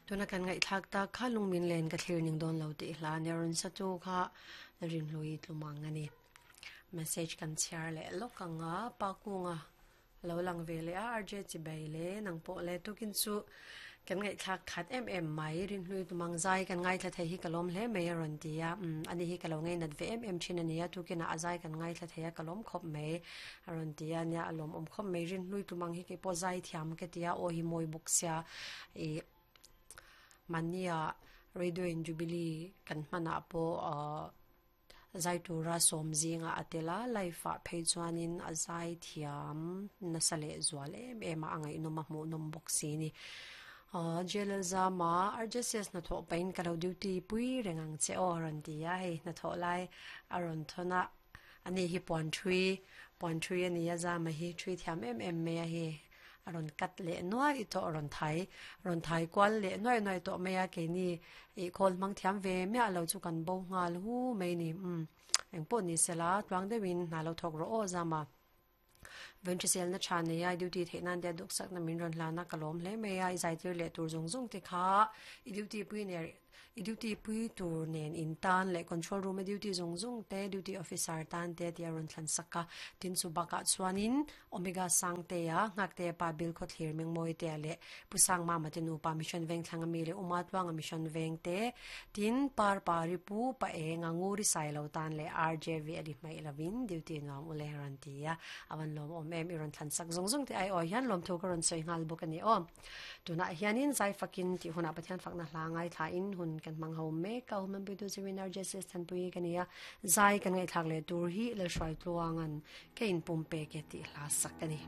Tuna kan ngaihthlak tak kha lungmin len ka thlir ning dawn lo tih hla nia rawn sa tu kha Rinhlui tlumang a ni. Message kan chhiar leh lawk ang a, Pa Kunga lo lang ve leh a, RJ Chibei le nang pawh le tukin chu kan ngaihthlak khat em em mai, Rinhlui tlumang zai kan ngaithla thei hi ka lawm hle mai a rawn ti a, umm ani hi ka lo ngainat ve em em thin a nia, tukinah a zai kan ngaithla thei a ka lawm khawp mai a rawn ti a nia, a lawmawm khawp mai, Rinhlui tlumang hi keipawh zai thiam ka ti a, aw hi mawi bawk sia ih Mahnia Radio in Jubilee kan hmanah pawh ahh zai tura sawm zingah a tel a, live ah phei chuanin a zai thiam nasa leh zual em em a, a ngaihnawm a hmuhnawm bawk si a ni. Ahh J_L Zama RJCS hnathawh pahin ka lo duty pui reng ang che aw a rawn ti a, hei hnathawh lai a rawn thawn a, ani hi puan thui puan thui a ni a, Zama hi thui thiam em em mai a hei. a rawn cut leh nuai tawh a rawn thai rawn thai kual leh nuai nuai tawh mai a keini ih khawl hmang thiam ve miah lo chu kan bo nghal hu mai a ni umm engpawh ni sela tluang deuhin hna lo thawk rawh aw zama venhriselna tha nei a duty theih nan te duhsakna min rawn hlan a ka lawm hle mai a i zaitir leh tur zawng zawng te kha i duty pui ner I duty pui tur nen in tan leh control room a duty zawng zawng te duty officer tan te tih a rawn thlan sak a, tin chu bakah chuanin Omega Sangtea, Nghaktea pa Bill Khawthlir Mengmawitea leh Pu Sangmama te nupa Mission Vengthlang ami leh Uma Tluanga Mission Veng te, tin Par Pari Pu Pa Enga Nguri Sailo tan leh RJV a li hmaih lovin duty nuam ule a rawn ti a, a van lawmawm em i rawn thlan sak zawng zawng te aiawh hian lawmthu ka rawn sawi nghal bawk a ni aw. Tunah hianin zai fakin tih hunah Pathian fakna hla ngaithlain hun kan hmang ho mek a, Human Puitu Seminar Jesus Thanpui ka ni a, zai kan ngaihthlak leh tur hi Lalhruaitluanga'n ka inpum pek e tih hla sak a ni.